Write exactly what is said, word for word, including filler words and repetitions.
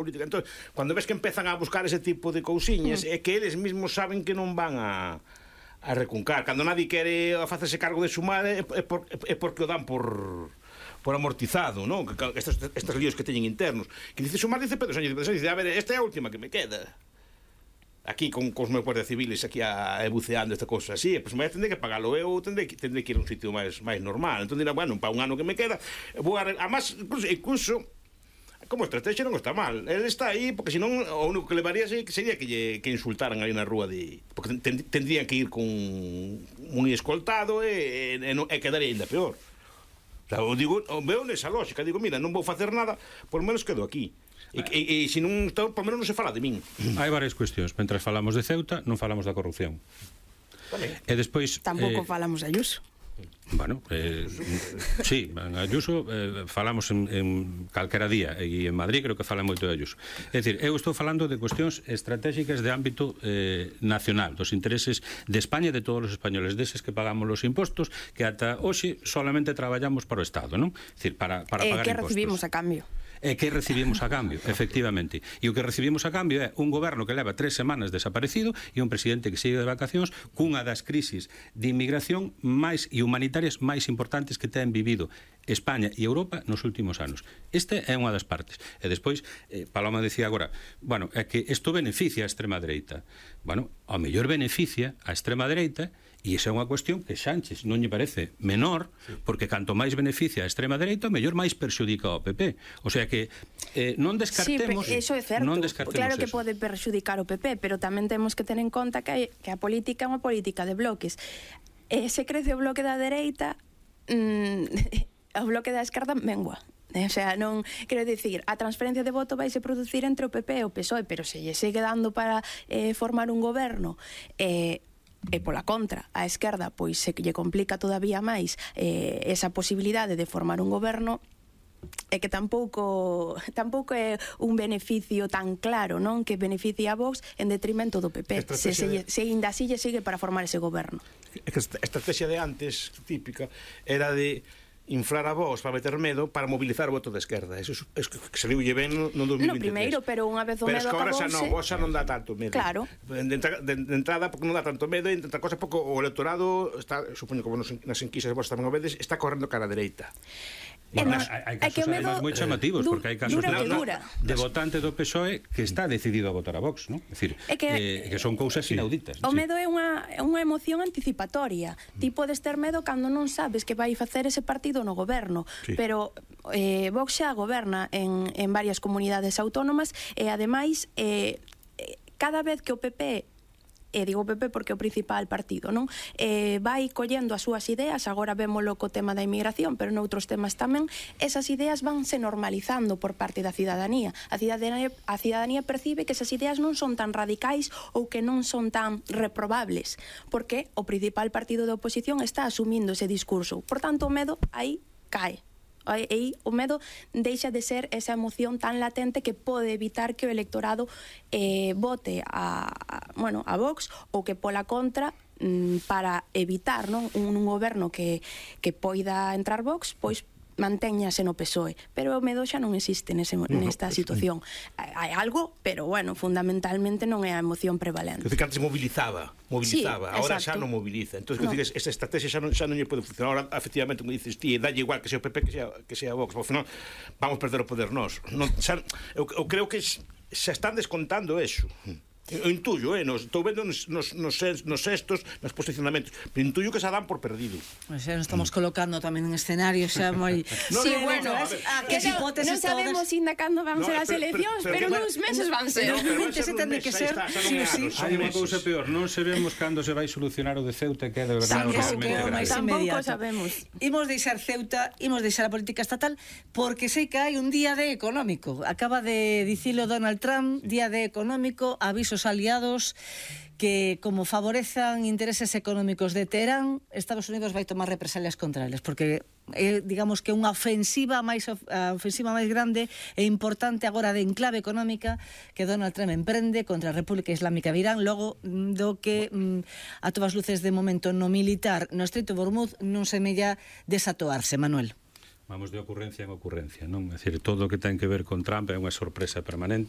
política. Entón, cando ves que empezan a buscar ese tipo de cousiñas, mm. é que eles mesmos saben que non van a a recuncar. Cando nadie quere facerse cargo de sumar é, é, por, é porque o dan por por amortizado, non? Estes, estes líos que teñen internos. Que dice sumar, dice Pedro Sánchez, Pedro Sánchez dice, a ver, esta é a última que me queda. Aquí con cos meus guardias civiles aquí a, a buceando esta cosa así, pois pues, me tendré que pagalo eu, tendré que, tendré que ir a un sitio máis máis normal. Entón dirá, bueno, para un ano que me queda, vou a, además, incluso, incluso como estrategia non está mal. Ele está aí porque senón o único que levaría sería que lle, que insultaran aí na rúa de, porque ten, tendrían que ir con un escoltado e, e, e quedaría ainda peor. O sea, o digo, o veo nesa lógica, digo, mira, non vou facer nada, por menos quedo aquí. E, e, e se non, por menos non se fala de min. Hai varias cuestións. Mentre falamos de Ceuta, non falamos da corrupción. Vale. E despois tampouco eh, falamos de Ayuso. Bueno, eh, sí, en Ayuso eh, falamos en, en calquera día, e en Madrid creo que fala moito de Ayuso. É dicir, eu estou falando de cuestións estratégicas de ámbito eh, nacional, dos intereses de España e de todos os españoles, deses que pagamos os impostos, que ata hoxe solamente traballamos para o Estado, non? É dicir, para, para eh, pagar que impostos. recibimos a cambio? E que recibimos a cambio, efectivamente. E o que recibimos a cambio é un goberno que leva tres semanas desaparecido e un presidente que sigue de vacacións cunha das crisis de inmigración máis e humanitarias máis importantes que ten vivido España e Europa nos últimos anos. Este é unha das partes. E despois, eh, Paloma decía agora, bueno, é que isto beneficia a extrema dereita. Bueno, ao mellor beneficia a extrema dereita. E esa é unha cuestión que Sánchez non lle parece menor, porque canto máis beneficia a extrema dereita, mellor máis perxudica ao P P. O sea que eh, non descartemos... Sí, eso é certo. Non descartemos claro que eso. pode perxudicar o P P, pero tamén temos que ter en conta que, hai, que a política é unha política de bloques. E se crece o bloque da dereita, mmm, o bloque da esquerda mengua. O sea, non, quero dicir, a transferencia de voto vai se producir entre o P P e o P S O E, pero se lle segue dando para eh, formar un goberno eh, e pola contra, a esquerda pois se lle complica todavía máis eh, esa posibilidade de formar un goberno, é que tampouco tampouco é un beneficio tan claro, non, que beneficia a Vox en detrimento do P P, se, se, se ainda así lle sigue para formar ese goberno. É que a estrategia de antes, típica, era de inflar a Vox para meter medo para mobilizar o voto da esquerda. Eso é que saliulle ben no dos mil vinte e tres. No primeiro, pero unha vez o medo acabouse... Pero acabouse... xa non, Vox xa non dá tanto medo. Claro. De, entra, de, de entrada, porque non dá tanto medo, e de outra cosa, porque o electorado está, supoño que nas enquisas vos tamén o vedes, está correndo cara a dereita. Bueno, nas, hai, hai casos además moi chamativos, du, porque hai casos dura de, dura. de votante do P S O E que está decidido a votar a Vox, non? É dicir, é que, eh, que son cousas sí. inauditas. O sí. medo é unha, unha emoción anticipatoria. Mm. Ti podes ter medo cando non sabes que vai facer ese partido no goberno, sí. pero eh, Vox xa goberna en, en varias comunidades autónomas e ademais eh, cada vez que o P P, e digo P P porque é o principal partido, non? Eh, vai collendo as súas ideas, agora vémolo co tema da inmigración, pero noutros temas tamén, esas ideas vanse normalizando por parte da cidadanía. A cidadanía, a cidadanía percibe que esas ideas non son tan radicais ou que non son tan reprobables, porque o principal partido de oposición está asumindo ese discurso. Por tanto, o medo aí cae. E o medo deixa de ser esa emoción tan latente que pode evitar que o electorado eh, vote a, a, bueno, a Vox, ou que pola contra mm, para evitar, non, un, un goberno que, que poida entrar Vox, pois mantéñase no P S O E, pero o medo xa non existe nese, nesta situación. Hai algo, pero bueno, fundamentalmente non é a emoción prevalente. Que antes mobilizaba, mobilizaba, sí, agora xa non moviliza. Entón, no. Esa estrategia xa non, xa non lle pode funcionar. Ahora, efectivamente, como dices ti, dalle igual que sea o P P que sea, que sea Vox, ao final vamos perder o poder nós. Non, xa, eu, eu creo que xa están descontando eso. Eu intuyo, eh, nos, estou vendo nos, nos, nos, nos sextos, nos posicionamentos, pero intuyo que se dan por perdido. Pues xa nos estamos colocando tamén en escenarios xa moi... No, sí, no, bueno, no, no, que non no sabemos ainda cando van no, ser as eleccións, pero, pero, pero, pero nuns meses van ser. dos mil veintisiete ten que ser, sí ou sí. Hai unha cousa peor, non sabemos cando se vai solucionar o de Ceuta, que é de verdade realmente grave. Tampouco sabemos. Imos deixar Ceuta, imos deixar a política estatal, porque sei que hai un día de económico. Acaba de dicilo Donald Trump, día de económico, avisos aliados que, como favorezan intereses económicos de Teherán, Estados Unidos vai tomar represalias contra eles, porque é, digamos que unha ofensiva máis a ofensiva máis grande e importante agora de enclave económica que Donald Trump emprende contra a República Islámica de Irán, logo do que mm, a todas luces de momento no militar no Estreito de Hormuz non semella desatoarse, Manuel. Vamos de ocurrencia en ocurrencia, non? É dicir, todo o que ten que ver con Trump é unha sorpresa permanente.